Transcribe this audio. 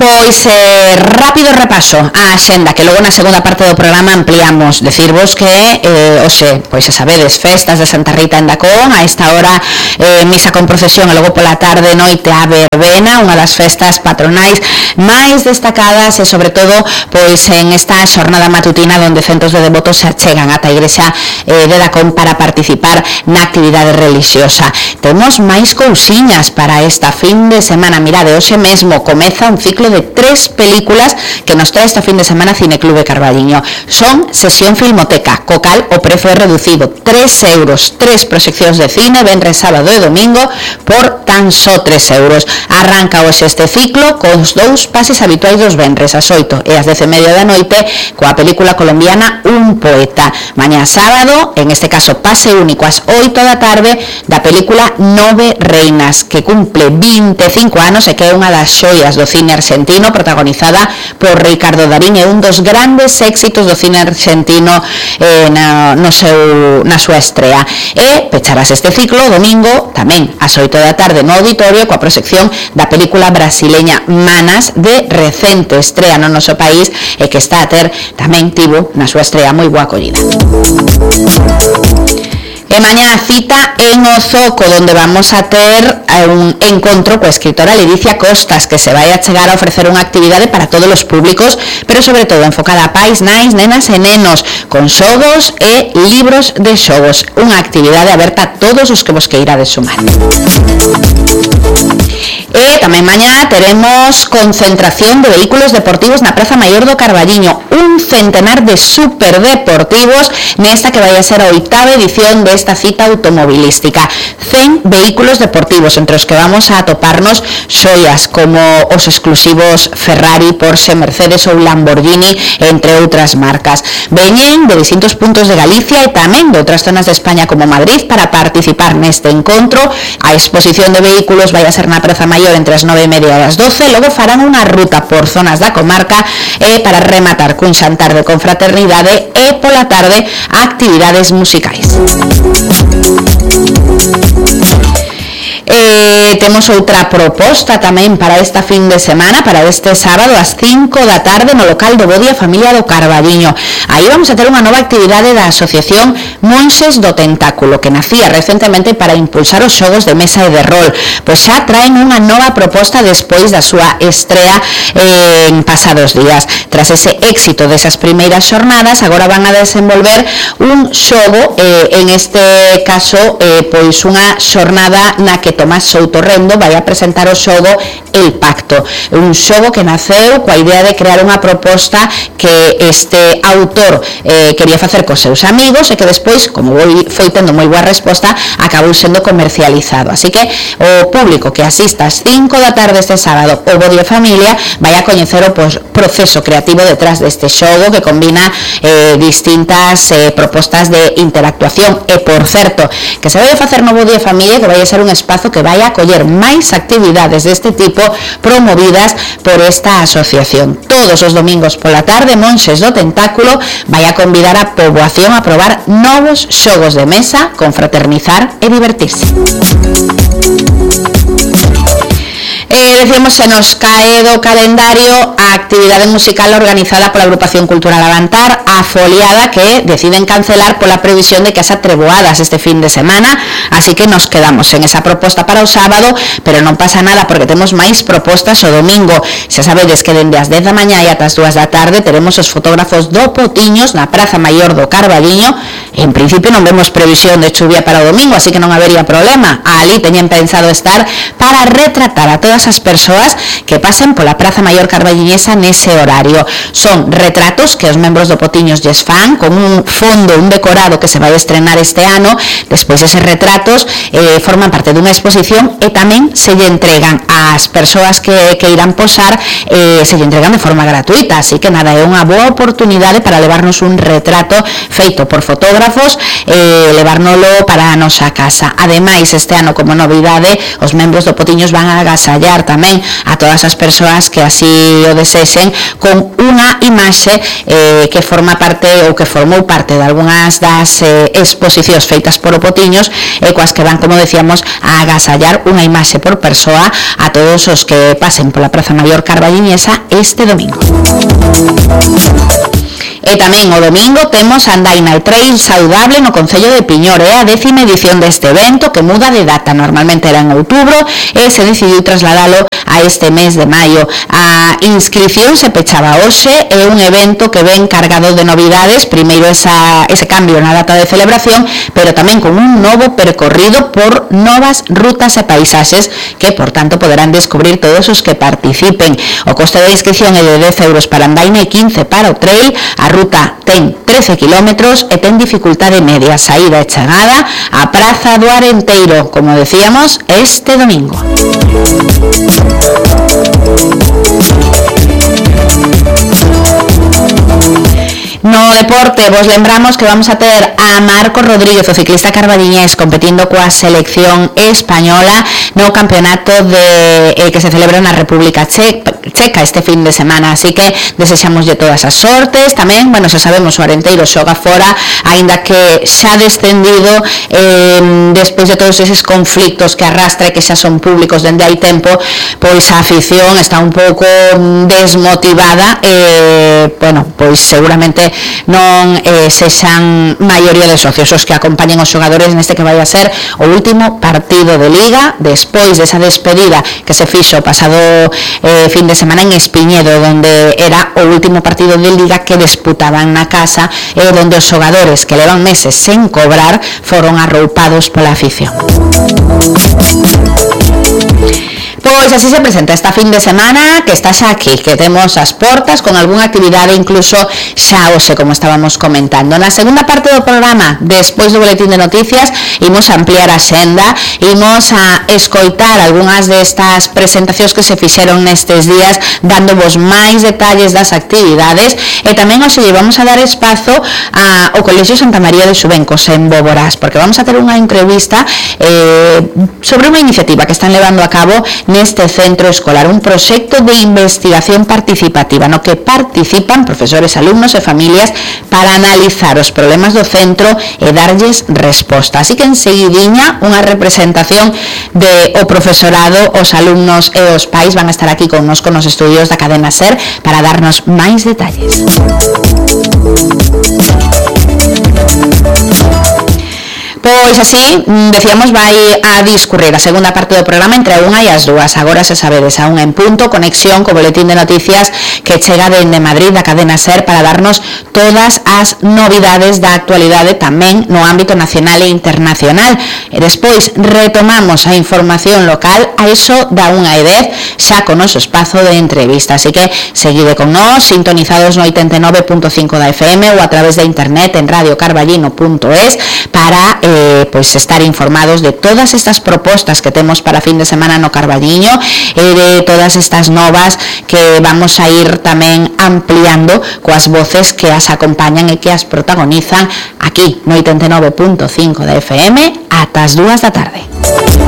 Pois rápido repaso a axenda, que logo na segunda parte do programa ampliamos. Decirvos que hoxe, pois xa sabedes, festas de Santa Rita en Dacón, a esta hora misa con procesión e logo pola tarde noite a verbena, unha das festas patronais máis destacadas e sobre todo pois en esta xornada matutina onde centos de devotos se achegan ata a igrexa de Dacón para participar na actividade religiosa. Temos máis cousiñas para esta fin de semana. Mirade, hoxe mesmo comeza un ciclo de 3 películas que nos trae esta fin de semana Cineclube Carballiño. Son sesión filmoteca, co cal o prezo é reducido, 3 euros, 3 proxeccións de cine, venres, sábado e domingo por tan só 3 euros. Arranca hoxe este ciclo cos 2 pases habituais dos venres, as 8 e as 10:30 da noite, coa película colombiana Un poeta. Mañá sábado, en este caso pase único ás 8 da tarde, da película Nove reinas, que cumple 25 anos e que é unha das xoias do cine argentino, protagonizada por Ricardo Darín, é un dos grandes éxitos do cine argentino na súa estrea. E pecharás este ciclo domingo tamén ás 8 da tarde no auditorio coa proxección da película brasileña Manas, de recente estrea no noso país e que está a ter tamén tivo na súa estrea moi boa acollida. E mañá a cita en o Zoco, onde vamos a ter un encontro coa escritora Ledicia Costas, que se vai a chegar a ofrecer unha actividade para todos os públicos, pero sobre todo enfocada a pais, nais, nenas e nenos, con xogos e libros de xogos. Unha actividade aberta a todos os que vos queirades sumar. E tamén mañá teremos concentración de vehículos deportivos na Praza Maior do Carballiño, un centenar de superdeportivos nesta que vai a ser a 8ª edición desta cita automobilística. 100 vehículos deportivos, entre os que vamos a atoparnos xoias como os exclusivos Ferrari, Porsche, Mercedes ou Lamborghini, entre outras marcas. Veñen de distintos puntos de Galicia e tamén de outras zonas de España como Madrid para participar neste encontro. A exposición de vehículos vai a ser na Praza Maior entre as 9:30 e as 12, logo farán unha ruta por zonas da comarca para rematar cun xantar de confraternidade e pola tarde actividades musicais. Temos outra proposta tamén para esta fin de semana, para este sábado ás 5 da tarde no local do Bodia Familia do Carballiño. Aí vamos a ter unha nova actividade da Asociación Monxes do Tentáculo, que nacía recentemente para impulsar os xogos de mesa e de rol. Pois xa traen unha nova proposta despois da súa estrea en pasados días. Tras ese éxito desas primeiras xornadas, agora van a desenvolver un xogo, en este caso, pois unha xornada na que Tomás Soutorrendo vai a presentar o xogo El Pacto, un xogo que naceu coa idea de crear unha proposta que este autor quería facer cos seus amigos e que despois, como foi tendo moi boa resposta, acabou sendo comercializado. Así que o público que asista ás 5 da tarde este sábado ao Bodia Familia vai a coñecer o proceso creativo detrás deste xogo que combina distintas propostas de interactuación e, por certo, que se vai a facer no Bodia Familia, que vai a ser un espazo que vai a acoller máis actividades deste tipo promovidas por esta asociación. Todos os domingos pola tarde, Monxes do Tentáculo vai a convidar a poboación a probar novos xogos de mesa, confraternizar e divertirse. Decíamos, se nos cae do calendario a actividade musical organizada pola Agrupación Cultural Avantar, a Foliada, que deciden cancelar pola previsión de que haxa treboadas este fin de semana, así que nos quedamos en esa proposta para o sábado, pero non pasa nada porque temos máis propostas o domingo. Xa sabedes que dende as 10 da mañá e ata as 2 da tarde teremos os fotógrafos do Potiños na Praza Maior do Carballiño. En principio non vemos previsión de chuvia para o domingo, así que non habería problema. Ali teñen pensado estar para retratar a todas as persoas que pasen pola Praza Maior Carballiñesa nese horario. Son retratos que os membros do Potiños lles fan con un fondo, un decorado que se vai estrenar este ano. Despois eses retratos forman parte dunha exposición e tamén se lle entregan ás persoas que irán posar, se lle entregan de forma gratuita, así que nada, é unha boa oportunidade para levarnos un retrato feito por fotógrafos e levárnolo para a nosa casa. Ademais, este ano como novidade, os membros do Potiños van a agasallar agasallar tamén a todas as persoas que así o desexen con unha imaxe que forma parte ou que formou parte de algunhas das exposicións feitas por Opotiños e coas que van, como decíamos, a agasallar unha imaxe por persoa a todos os que pasen pola Praza Maior carballiñesa este domingo. E tamén o domingo temos a Andaina Trail Saudable no Concello de Piñor, a 10ª edición deste evento que muda de data, normalmente era en outubro e se decidiu trasladalo a este mes de maio. A inscripción se pechaba hoxe, é un evento que ven cargado de novidades, primeiro ese cambio na data de celebración, pero tamén con un novo percorrido por novas rutas e paisaxes que, por tanto, poderán descubrir todos os que participen. O coste da inscripción é de 10 euros para Andaina e 15 para o trail. A ruta ten 13 kilómetros e ten dificultade media, saída e chegada á Praza do Arenteiro, como decíamos, este domingo. No deporte, vos lembramos que vamos a ter a Marcos Rodríguez, o ciclista carballiñés, competindo coa selección española no campeonato que se celebra na República Checa este fin de semana, así que desexamoslle todas as sortes. Tamén, bueno, xa sabemos, o Arenteiro xoga fora, aínda que xa descendido despois de todos eses conflictos que arrastra e que xa son públicos dende hai tempo, pois a afición está un pouco desmotivada bueno, pois seguramente non sexan maioría de socios os que acompañen os xogadores neste que vai a ser o último partido de Liga despois desa despedida que se fixo o pasado fin de semana en Espiñedo, donde era o último partido de Liga que disputaban na casa e donde os xogadores que levan meses sen cobrar foron arroupados pola afición. Pois así se presenta esta fin de semana que está xa aquí, que temos as portas con algunha actividade incluso xa hoxe, como estábamos comentando. Na segunda parte do programa, despois do boletín de noticias, imos a ampliar a xenda, imos a escoitar algunhas destas presentacións que se fixeron nestes días, dándovos máis detalles das actividades, e tamén hoxe vamos a dar espazo ao Colexio Santa María de Xubencos en Boborás, porque vamos a ter unha entrevista sobre unha iniciativa que están levando a cabo neste centro escolar, un proxecto de investigación participativa no que participan profesores, alumnos e familias para analizar os problemas do centro e darlles resposta. Así que enseguidiña unha representación de o profesorado, os alumnos e os pais van a estar aquí connosco nos estudios da cadena SER para darnos máis detalles. Pois así, decíamos, vai a discurrir a segunda parte do programa entre a unha e as dúas. Agora se sabedes, a unha en punto, conexión co boletín de noticias que chega dende Madrid da cadena SER para darnos todas as novidades da actualidade tamén no ámbito nacional e internacional. E despois retomamos a información local a iso da 1:10 xa con noso espazo de entrevista. Así que seguide con nós, sintonizados no 89.5 da FM ou a través de internet en radiocarballino.es para pois estar informados de todas estas propostas que temos para fin de semana no Carballiño e de todas estas novas que vamos a ir tamén ampliando coas voces que as acompañan e que as protagonizan aquí no 89.5 da FM ata as 2 da tarde.